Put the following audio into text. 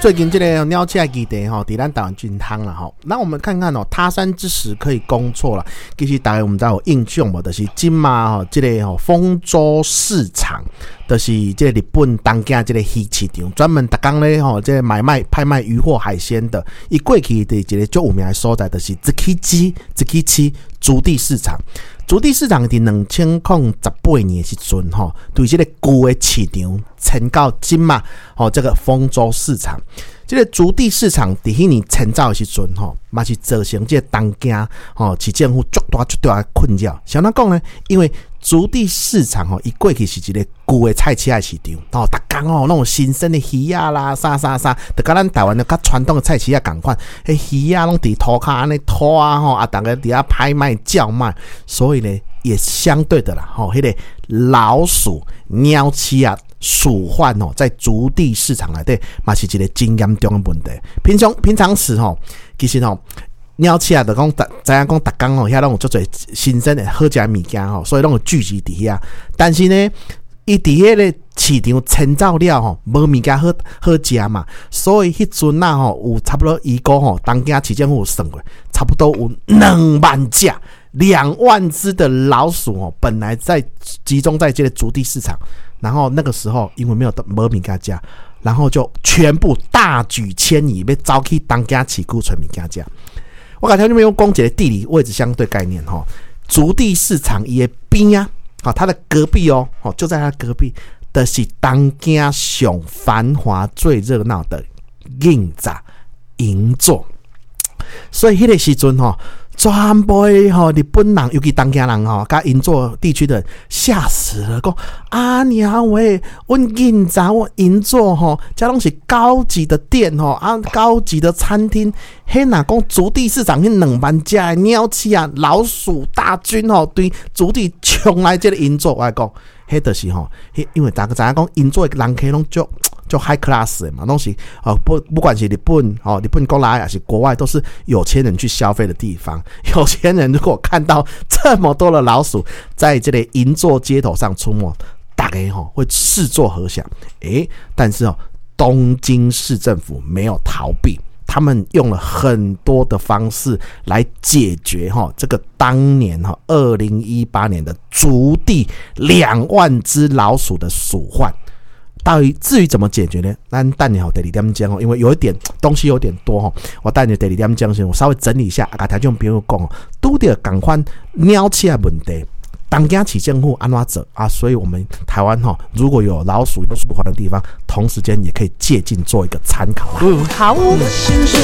最近這个鳥鼠的議題吼，佇咱台灣真夯啦吼。那我們看看哦，他山之石可以攻錯啦。其實大家毋知有印象無？就是這馬吼，這个吼豐洲市場，就是這个日本東京這个魚市場，專門逐工咧吼，這个買賣拍賣魚貨海鮮的。伊過去佇一个足有名的所在，就是築地築地市場。築地市場佇2018年的時陣吼，對這个舊的市場遷到這馬吼，這个豐洲市場。這个築地市場佇彼年遷走的時陣吼，嘛是造成這个東京吼市政府足大足大的困擾。啥物講呢？因為築地市場吼，伊過去是一个舊的菜市仔市場，吼，逐工吼攏有新鮮的魚仔啦，啥啥啥，就佮咱台灣的較傳統的菜市仔仝款，彼魚仔攏佇塗跤按呢拖啊吼，啊，逐家佇遐拍賣叫賣，所以呢，也相對的啦，吼，彼个老鼠、鳥鼠仔鼠患哦，在築地市場內底嘛是一个真嚴重的問題。平常平常時吼，其實吼，鳥鼠仔就講，知影講，逐工吼遐攏有足濟新鮮的好食的物件吼，所以攏有聚集佇遐。但是呢，伊佇彼个市場遷走了吼，無物件好好食嘛，所以彼陣仔吼有差不多預估吼，東京市政府有算過，差不多有2萬隻、2萬隻的老鼠哦，本來在集中在這个築地市場，然後那個時候因為沒有無物件食，然後就全部大舉遷移，欲走去東京市區揣物件食。我共聽眾朋友講一个地理位置相對概念吼，築地市場伊的邊仔，吼，它的隔壁哦，吼，就在它隔壁的是東京上繁華最熱鬧的銀座銀座，所以彼个時陣吼，全部的吼日本人，尤其東京人吼，佮銀座地區的人嚇死了，講啊娘喂，阮銀座阮銀座吼，遮攏是高級的店吼，啊高級的餐廳，彼若講築地市場彼2萬隻的鳥鼠仔，老鼠大軍吼，對築地衝來這个銀座，我來講，彼就是吼，彼因為大家知影講銀座的人客攏足足 high class 的嘛，攏是哦不不管是日本哦，日本國內還是國外，都是有錢人去消費的地方。有錢人如果看到這麼多的老鼠在這個銀座街頭上出沒，大家吼會試作何想？欸，但是哦，東京市政府沒有逃避，他們用了很多的方式來解決哈這個當年哈2018年的築地2萬隻老鼠的鼠患。到底至於怎麼解決呢？咱等下第二點鐘哦，因為有一點東西有點多吼，我等下第二點鐘先，我稍微整理一下，共聽眾朋友講，拄著仝款鳥鼠仔問題，東京市政府按怎做啊？所以我們台灣吼，如果有老鼠有鼠患的地方，同時間也可以借鏡做一個參考啦。嗯，好。